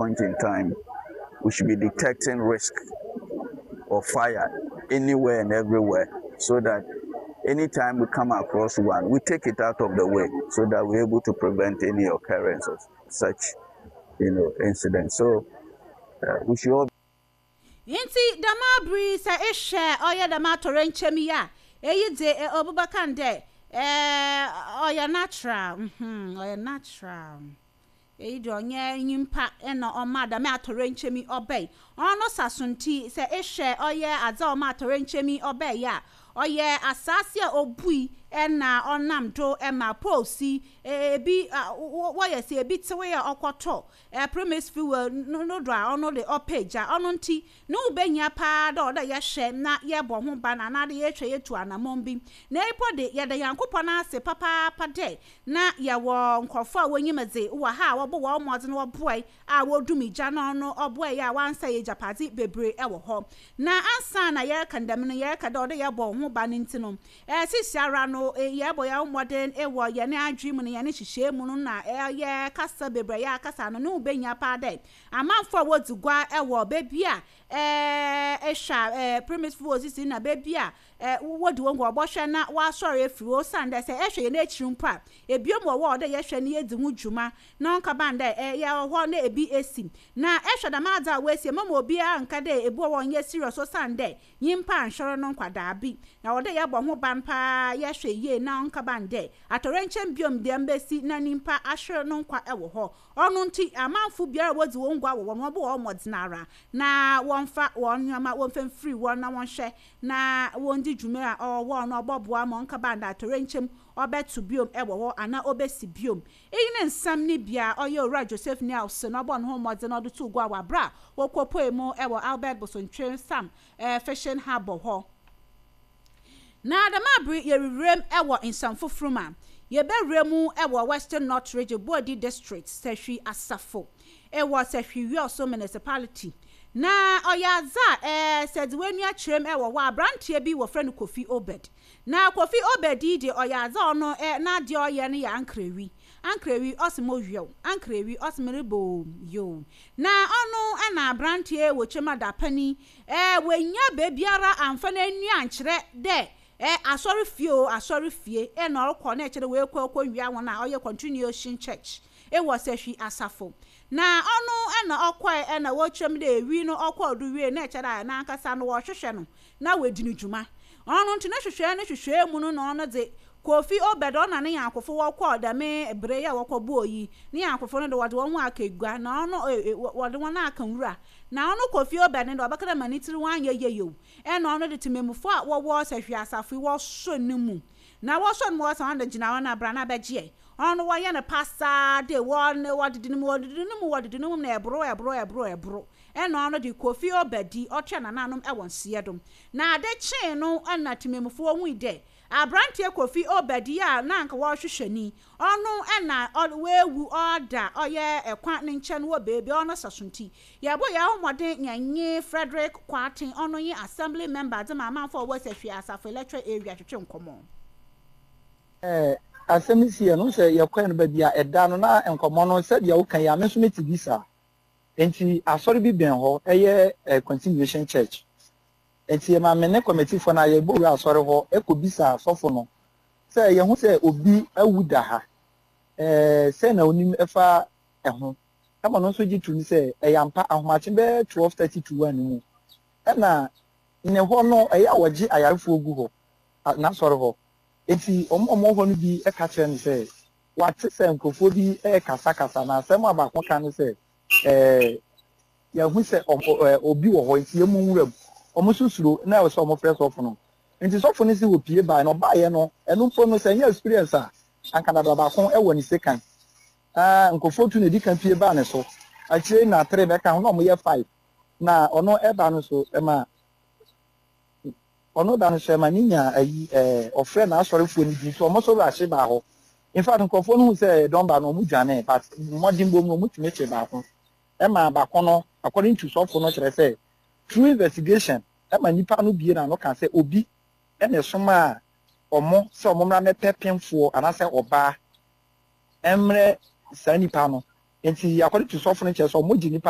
Point in time, we should be detecting risk of fire anywhere and everywhere so that anytime we come across one, we take it out of the way so that we're able to prevent any occurrence of such, incidents. So we should all Ntsi dɛm aber yi sɛ ehwɛ ɔyɛ dɛm atoyerɛnkyɛm yi a, iyi dze obi bɛka no dɛ ɔyɛ natural, mm-hmm, ɔyɛ natural. Iyi dze ɔnnyɛ nyimpa na ɔmaa dɛm atoyerɛnkyɛm yi ɔbae. Ɔno saso ntsi, sɛ ehwɛ ɔyɛ adze a ɔmaa atoyerɛnkyɛm yi ɔbae yi a, ɔyɛ asaase a obui na ɔnam do ma poles yi bi wɔyɛ sɛ bi tsewee a ɔkɔtɔ Premise fuel no do a ɔno de ɔpɛ gya. Ɔno ntsi, no ho behia paa dɛ ɔwɔ dɛ yɛhwɛ na yɛbɔ ho ban anaadɛ yɛtwa yetu anamɔn bi. Na mpo de, yɛda Nyankopɔn ase papaapa dɛ na yɛwɔ nkorɔfo a wonyim dze wɔ ha a wɔbɔ hɔn mbɔdzen wɔboae a wodum gya no ɔno ɔboae a wɔannsɛɛ egyapadze beberee wɔ hɔ. Na ansaana yɛreka no dɛm no, yɛreka dɛ ɔwɔ dɛ yɛbɔ ho ban ntsi no, Seseiara no, yɛbɔ hɛn mbɔdzen wɔ hɛn adwen mu na hɛn nhyehyɛɛ mu no na yɛ kasa beberee a yɛakasa no, no ho behia paa dɛ amamfo a wodzi gua wɔ beebi a ehwɛ a premisefo wosisi na beebi a wodzi hɔn gua wɔbɔhwɛ na wɔasoɛr efir hɔ osiandɛ sɛ ehwɛ hɛn ekyir mpo a, binom wɔ hɔ a ɔwɔ dɛ yɛhwɛ na yedzi ho dwuma na ɔnnkɛba no dɛ yɛwɔ hɔ na bi esi. Na ehwɛ dɛm adze a woesi yi, mma obiara nnka dɛ bi wɔ hɔ a ɔnnyɛ serious osiandɛ Nyimpa annhwɛr no nkwadaa bi, na ɔwɔ dɛ yɛbɔ ho ban paa, yɛhwɛ yie na ɔnnkɛba no dɛ atoyerɛnkyɛm bio dɛm besi na nyimpa ahwer no nkwa wɔ hɔ. Ɔno ntsi, amamfo biara a wodzi hɔn gua wɔ hɔ no, wɔbɔ hɔn mbɔdzen ara na wɔmfa hɔn ndzɛmba wɔmfa mfir hɔ na wɔnhwɛ na wondzi dwuma a ɔwɔ hɔ no, ɔbɔboa ma ɔnnkɛba no dɛ atoyerɛnkyɛm ɔbɛto bio wɔ hɔ anaa obesi bio. Iyi ne nsɛm no bi a ɔyɛ Owura Joseph Nielsen na ɔbɔɔ no ho mbɔdzen na ɔdze too gua wɔ aber a wokopuee mu wɔ Albert Bosontwe Sam Fishing Harbour hɔ. Na dɛm aber yi yeruwura mu wɔ nsɛm fofor mu a, yebewura mu wɔ Western North Region, Boadi District, Sahwi Asafo wɔ Sahwi Wiawso Municipality. Na ɔyɛ adze a sɛ edze w'enyi akyerɛ mu wɔ hɔ a, aberanteɛ bi wɔfrɛ no Kofi Obed. Na Kofi Obed yi de ɔyɛ adze a ɔno ɛ n'adeɛ a ɔyɛ no yɛ ankrawi. Ankrawi ɔse mo wew, ankrawi ɔse merebɔ o, yoo. Na ɔno na aberanteɛ wɔ kyɛm adapani ɛ wannya beebiara amfa n'ani ankyerɛ dɛ ɛ asɔre fie o asɔre fie ɛ na ɔrekɔ na ɛkyerɛ wei kɔ kɔ wia wɔn a ɔyɛ Continuation Church wɔ Sahwi Asafo. Na ɔno na ɔkɔɛ ɛ na wɔkyerɛ mu dɛ ewi no ɔkɔɔ do wie na ɛkyerɛ dɛ n'ankasa no wɔrehwehwɛ no na oedzi no dwuma. Ɔno ntsi no hwehwɛɛ no hwehwɛɛ mu no na ɔno dze, Kofi Obed ɔna ne nyankofo wɔkɔɔ dɛm ber yi a wɔkɔbɔɔ yi, ne nyankofo no de wɔdze hɔnho aka egua na ɔno wɔdze hɔn aka nwura. Na ɔno Kofi Obed no de ɔbɛka dɛ ma ne tsir ho annyɛ yie o, nna ɔno de tsemammufo a wɔwɔ Sahwi Asafo yi wɔsɔ no mu. Na wɔsɔ no mu wɔsɛ ɔno de gyina hɔ na bra na bɛgye ɛ. Ɔno wɔyɛ no pasaa de wɔ wɔdede no mu wɔdede no mu wɔdede no mu na ɛboro ɛboro ɛboro ɛboro. Ɛna ɔno de Kofi Obadi ɔtoa nananom wɔ nseɛ do. Na ade kyee no na temamufoɔ hui dɛ abranteɛ Kofi Obadi a na anka wɔrehwehwɛ no yi, ɔno na oewu ɔda ɔyɛ kwan ne nkyɛn wɔ beebi a ɔno sɛ so ntsi, yɛbɔ hɛn ho mbɔden yɛnye Frederick Kwarteng, ɔno nye Assembly Member dze ma amanfoɔ a wɔwɔ Sahwi Asafo Electoral Area twetwe nkɔmbɔ. Asɛm no siiɛ no, wohu sɛ yɛkɔɛ no baabi a ɛda no na nkɔmmɔ no sɛdeɛ woka yi a me nso mete bi saa. Enti asɔre bi bɛn hɔ, ɛyɛ Continuation Church. Enti ɛma me ne kɔmɛtifoɔ no a yɛbɔ wura asɔre hɔ kɔbisaa sɔfo no sɛ yɛhu sɛ obi awu da ha, sɛn na onim fa ɛho? Ɛma ɔno nso gye toom sɛ ɛyɛ ampa, ahomakye bɛyɛ 12:30 to 1 mu ɛna ne hɔ no ɛyɛ a wɔgye ayarefoɔ gu hɔ, n'asɔre hɔ. Enti wɔn a wɔwɔ hɔ no bi ka kyerɛɛ no sɛ Wɔate sɛ nkurɔfoɔ bi rekasakasa, na asɛm a baako ka ne sɛ, Ɛɛ, yɛahu sɛ obi wɔ hɔ, enti yɛmmɔ nwura mu. Wɔn nso suro, na ɛwɔ sɛ wɔfrɛ sɔfo no. Enti sɔfo no se wɔpue baeɛ, na ɔbaeɛ no, ɛno mpo no, sɛ ɛnyɛ experience a, anka dada baako wɔ ne sekan. Na nkurɔfoɔ tu na ɛdi kan pue baa ne so. Akyire yi na three bɛka ho, na wɔyɛ five. Na ɔno ɛba no nso, ɛma. Ɔno da no so ɛma ne nya ayi ɛɛ ɔfrɛ n'asɔrefoɔ no bi nti wɔn nso rush baa hɔ. In fact nkurɔfoɔ no hu sɛ dɔm ba no wɔn dwanee but mmɔdenbɔ mu no wɔn tumi kyee baako ɛma baako no according to sɔfo no kyerɛ sɛ through investigation ɛma nipa no bie n'ano ka sɛ obi ɛna ɛsomaa wɔn sɛ wɔn mmra mmɛpɛ pemfoɔ anaasɛ ɔbaa ɛmrɛ saa nipa no. Nti according to sɔfo no kyerɛ sɛ ɔmo gye nipa no.